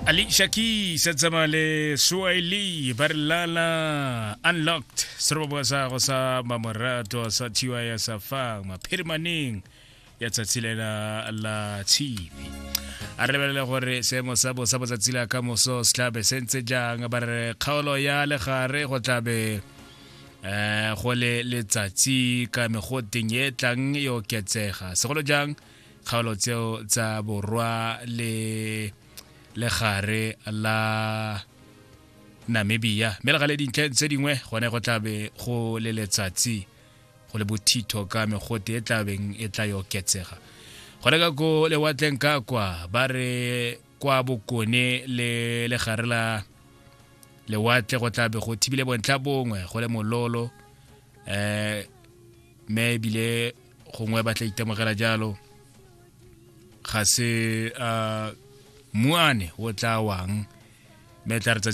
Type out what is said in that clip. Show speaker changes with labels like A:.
A: Alicia Keys a tsamaya le Swahili ba re lala unlocked seroboboa sa go sa mamorato sa thiwa ya safang maphirimaneng ya tsatsi lela la tshipi. A re lebelele gore seemo sa bosa botsatsi la ka moso se tlabe se ntse jang. Ba re kgaolo ya legare go tlabe go le letsatsi ka megoteng e tlang e oketsega, segolo jang kgaolo tseo tsa borwa le legare la Namibia, mme le gale dintlheng tse dingwe gone go tlabe go le letsatsi, go le bothitho ka megote e tlabeng e tla e oketsega. Gone ka ko lewatleng ka kwa, ba re kwa bokone le legare la lewatle go tlabe go thibile bontlha bongwe, go le mololo, mme ebile gongwe ba tla itemogela jalo ga se muane o tla wang, mme tla re tsatsi.